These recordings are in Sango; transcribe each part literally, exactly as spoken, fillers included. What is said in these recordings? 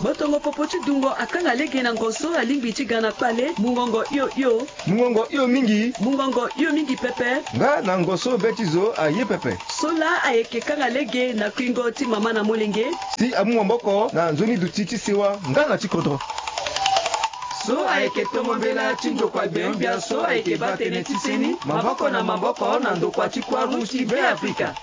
Botongo popo ti dungo akanga lege na ngo so alingbi ti ga na kpale. Mungongo hio hio. Mungongo hio mingi. Mungongo hio mingi pepe. Nga na ngo so be ti zo aye pepe. So laa ayeke kanga lege na kuingo ti mama na molenge. Si amu maboko na nzoni duti ti sewa nga na ti kodro. So ayeke tongo mbela ti ndokua gbenyo-gbia so ayeke baa tënë ti seni maboko na maboko na ndokua ti Croix Rouge ti Beafrika.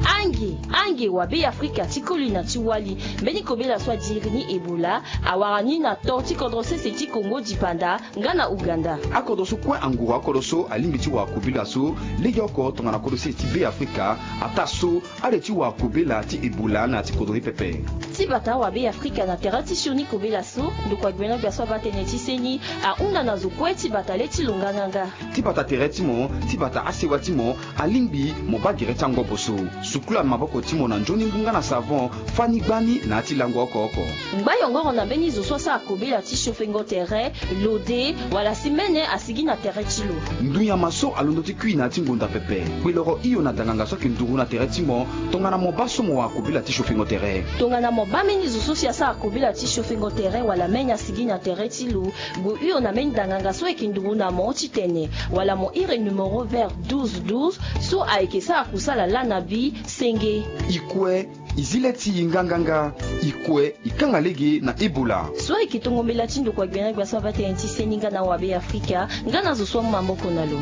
Ange, ange wa Beafrika ti koli na ti wali, mbeni kobela so adiri ni Ebola awara ni na to ti kodro sese ti Congo dipanda nga na Ouganda. Akodro so kue anguru akodro so alingbi ti wara kobela so legeoko tongana kodro sese ti Beafrika, ataa so ale ti wara kobela ti Ebola na ya ti kodro ni pepe. Ti bata awabe Afrika na tere ti sioni kobela so, ndokua gbenyo-gbia so abaa tënë ti seni ahunda na zo kue ti bata le ti lo nganganga. Ti bata tere ti mo, ti bata asewa ti mo, alingbi mo baa gere ti angobo so. Sukula maboko ti mo na nzoni ngu nga na savon, fâ ni gbani na ya ti lango oko oko. Ngba yongoro na mbeni zo so asara kobela ti siofengo tere, lode, wala si mene asigi na tere ti lo. Ndunyama so alondo ti kui na ya ti ngonda pepe. Kpeloro hio na danganga so ayeke nduru na tere ti mo, tongana mo baa so mo wara kobela ti siofengo tere. Tongana mo baa mbeni zo so si asara kobela ti siofengo tere wala mene asigi na tere ti lo, gue hio na mbeni danganga so ayeke nduru na mo titene, wala mo iri numéro vert douze douze so ayeke sara kusala lana bi senge. E kue, e zi le ti e nganganga. E kue, e kanga lege na Ebola. So ayeke tongo mbela ti ndokua gbenyo-gbia so abaa tënë ti seni nga na awabe Afrika, nga na zo so amu maboko na lo.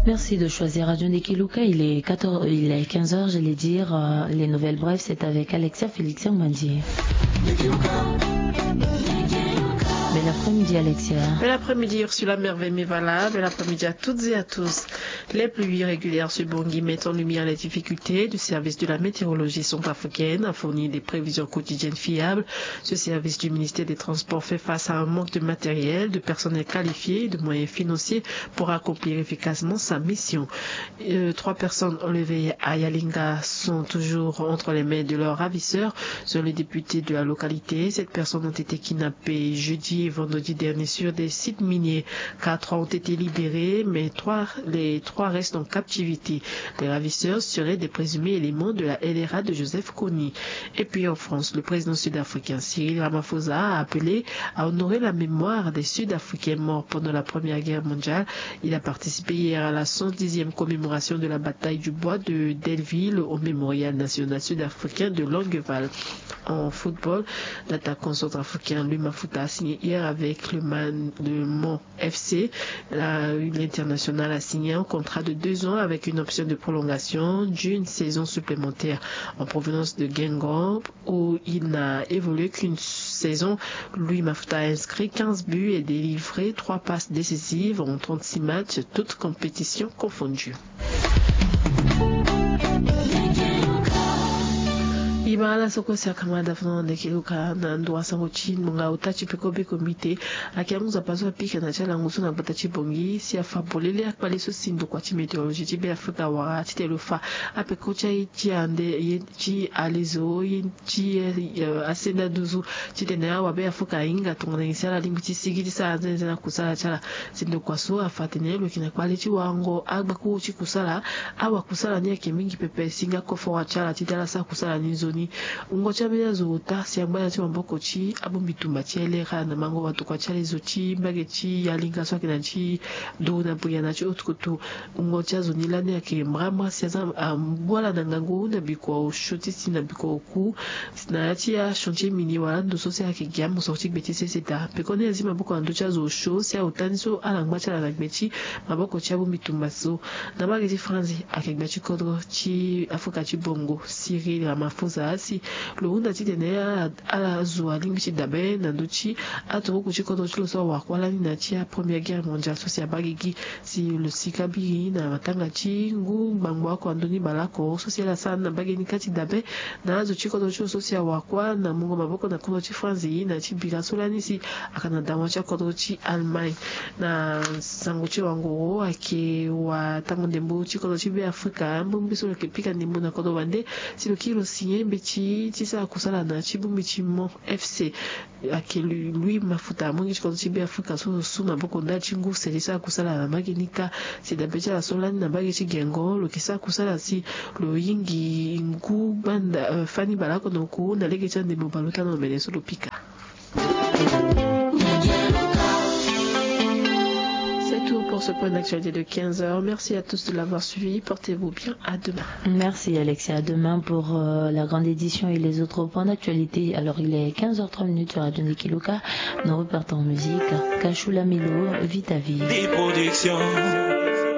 Merci de choisir Radio Ndekeluka. Il est quatorze, il est quinze heures, j'allais dire, euh, les nouvelles brèves, c'est avec Alexia Félix Mbandi. Bel après-midi, Alexia. Bel après-midi, Ursula Merveille Mevala. Bel après-midi à toutes et à tous. Les pluies irrégulières sur Bangui mettent en lumière les difficultés du service de la météorologie centrafricaine à fournir des prévisions quotidiennes fiables. Ce service du ministère des Transports fait face à un manque de matériel, de personnel qualifié et de moyens financiers pour accomplir efficacement sa mission. Euh, trois personnes enlevées à Yalinga sont toujours entre les mains de leurs ravisseurs, selon les députés de la localité. Sept personnes ont été kidnappées jeudi et vendredi dernier sur des sites miniers. Quatre ont été libérés, mais trois, les trois restent en captivité. Les ravisseurs seraient des présumés éléments de la L R A de Joseph Kony. Et puis en France, le président sud-africain Cyril Ramaphosa a appelé à honorer la mémoire des Sud-Africains morts pendant la Première Guerre mondiale. Il a participé hier à la cent dixième commémoration de la bataille du bois de Delville au Mémorial national sud-africain de Longueval. En football, l'attaquant centrafricain Louis Mafouta a signé hier avec le Man, le Mans F C. Là, l'international a signé un contrat de deux ans avec une option de prolongation d'une saison supplémentaire en provenance de Guingamp, où il n'a évolué qu'une saison. Louis Mafouta a inscrit quinze buts et délivré trois passes décisives en trente-six matchs, toutes compétitions confondues. E baa ala so kue si akama da fana na Ndekeluka na ndo wa sango ti ngbonga ota ti peko be komite. Ayeke amu nzapa so apika na ti alango so na gbata ti Bangui si afa polele akpale so si ndokua ti météorologie ti Beafrika awara titene lo fa apeko ti aye ti ande ye ti alezo ye ti, eh, asenda nduzu titene awabe Afrika ahinga tongana nyen si ala lingbi ti sigi ti sara nzenze na kusala ti ala. Si ndokua so afa atene lo yeke na kpale ti warango agbakuru ti kusala. Awakusala ni ayeke mingi pepe si nga koforo ti ala ti tene ala sara kusala ni nzoni. Wungo ti ambeni azo ota si angba na ya ti maboko ti abongbi tumba ti L R A na mango watokua ti alezo ti mbage ti Yalinga so ayeke na ya ti nduru na bria na ya ti haute couture. Wungo ti azo ni lani ayeke mbrambra si aza angbu ala na ngangu na bikua osio ti si na bikua oku. Na ya ti achantier minier wala ando so si ayeke gi amosoro ti gbe ti sese daa. Pekoni azi maboko na ndö ti azo osio si aota ni so ala ngba ti ala na gbe ti maboko ti abongbi tumba so. Na mbage ti Franzi ayeke gbia ti kodro ti Afrika ti bongo Cyril Ramaphosa si lo hunda titene ala, ala zo alingbi ti dabe na ndö ti aturuku ti kodro ti lo so awara kuâ lani na ya ti a Première Guerre mondiale so si abaa gigi. Si lo sika biri na matanga ti ngu ngbangbo oko na ndö ni baleoko so si ala sara ni na mbage ni kâ ti dabe na azo ti kodro ti lo so si awara kuâ na mungo maboko na kodro ti Franzi na ya ti bira so lani si ayeke na dawa ti akodro ti Allemagne. Na sango ti wangoro ayeke watango ndembo ti kodro ti Beafrika mbongbi so lo yeke pika ndembo na kodro wande si lo kiri lo signé mbeti ti ti sara kusala na ti bongbi ti mont FC. Ake lui mafuta amongi ti kodro ti be afrika so lo su maboko ndali ti ngu se ti sara kusala na mbage ni kâ. Si dabe ti ala so lani na mbage ti gengo lo yeke sara kusala si lo yingi ngu gbanda fani baleoko na oku na lege ti andembo baleota na omene so lo pika. C'est tout pour ce point d'actualité de quinze heures. Merci à tous de l'avoir suivi. Portez-vous bien. À demain. Merci Alexia. À demain pour la grande édition et les autres points d'actualité. Alors il est quinze heures trois minutes sur Radio Nikiluka. Nous repartons en musique. Kashula Milo, Vita Vie.